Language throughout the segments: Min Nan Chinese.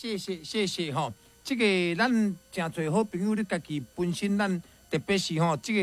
謝謝謝謝吼，這個咱誠濟好朋友，你家己本身咱特別是吼，這個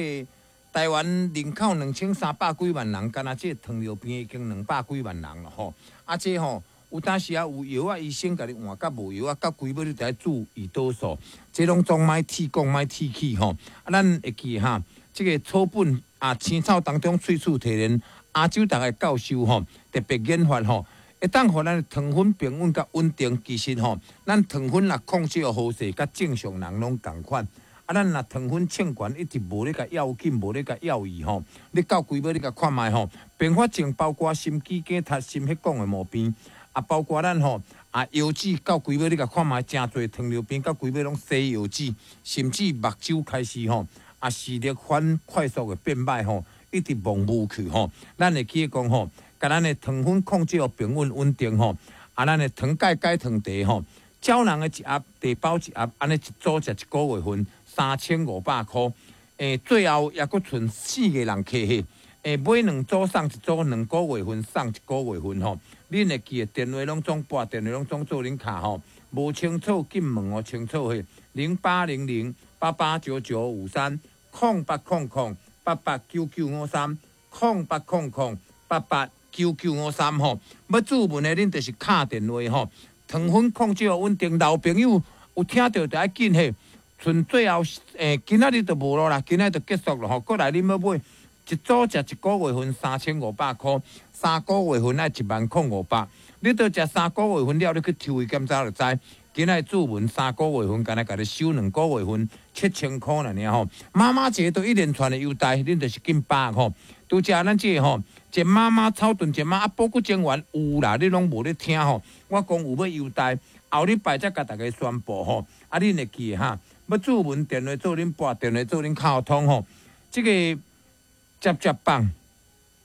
台灣人口2300幾萬人，干焦這個糖尿病已經200幾萬人了吼。啊，這吼有當時啊有藥仔，醫生共你換佮無藥仔，到規尾你著愛注胰島素，這攏總莫鐵講莫鐵去吼。啊，咱會記哈，這個草本啊青草當中萃取提煉，亞洲大學教授吼特別研發吼。會當予咱的糖分平穩佮穩定，其實吼，咱糖分若控制好勢，佮正常人攏仝款。啊，咱若糖分衝懸，一直無咧共要緊，無咧共要伊吼，你到規尾你共看覓吼，併發症包括心肌梗塞、心血管的毛病，啊，包括咱吼啊腰子到規尾你共看覓，誠濟糖尿病到規尾攏洗腰子，甚至目睭開始吼啊視力反快速的變歹吼，一直模糊去吼。咱會記得講吼，共咱的糖分控制予平穩穩定吼，啊，咱的糖鈣解糖茶吼，膠囊的一盒，茶包一盒，按呢一組食一個月份，3500箍。最後猶閣賰四個人客嘿，買兩組送一組，2個月份送一個月份吼。恁會記得電話攏總撥，電話攏總做恁卡吼，無清楚緊問予清楚嘿，0800889953，0800889953，0800889953吼，欲注文的恁就是敲電話吼，糖分控制予穩定，老朋友有聽著就愛緊嘿，賰最後今仔日就無咯啦，今仔日就結束了吼。過來恁欲買一組食一個月份3500箍，3個月份愛1萬零500。你都食三個月份了，你去抽血檢查就知。今仔日注文三個月份，干焦共你收2個月份7000箍爾爾吼。媽媽節都一連串的優待，恁就是緊把握吼。拄才咱這個吼，一媽媽草屯一媽啊，保骨精丸有啦，你攏無咧聽吼。我講有欲優待，後禮拜才共大家宣布吼。啊，恁會記得哈？欲注文電話做恁撥，電話做恁敲通吼。這個接接棒，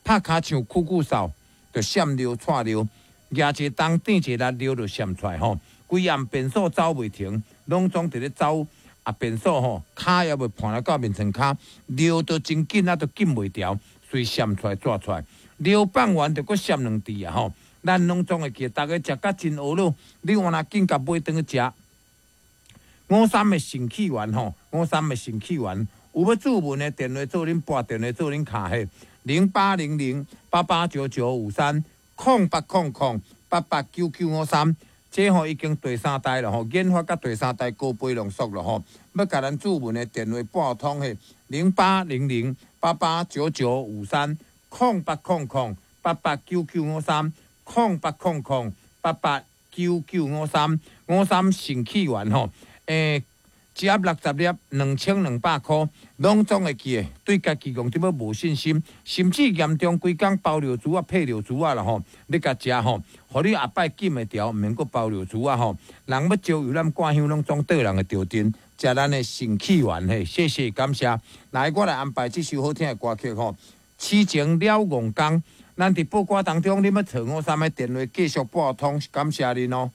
拍跤像酷酷掃，就閃尿掣尿，舉一個重，轉一個力，尿就閃出來吼。規暗便所走袂停，攏總佇咧走啊便所吼，跤猶未盤來到眠床跤，尿都真緊啊，都禁袂牢。隨閃出來，掣出來，尿放完就閣閃兩滴啊吼！咱攏總會記得，逐家食甲真懊惱，你換若緊共買轉去食。五三的腎氣丸吼，五三的腎氣丸，有欲注文的電話做恁撥，電話做恁敲嘿，0800889953，0800889953，這吼已經第三代了吼，研發到第三代高倍濃縮了吼，欲共咱注文的電話撥通嘿，0800889953，0800889953，0800889953，五三腎氣丸吼，一盒60粒，2200箍，攏總會記得，對家己講這欲無信心，甚至嚴重規工包尿珠仔、配尿珠仔啦吼，你共食吼，予你後擺禁會牢，毋免閣包尿珠仔吼。人欲招遊覽掛香，攏總倒人的著陣，食咱的腎氣丸嘿，謝謝感謝。來，我來安排這首好聽的歌曲吼，痴情了戇工。咱佇報歌當中，你欲揣五三的電話繼續撥通，感謝恁哦。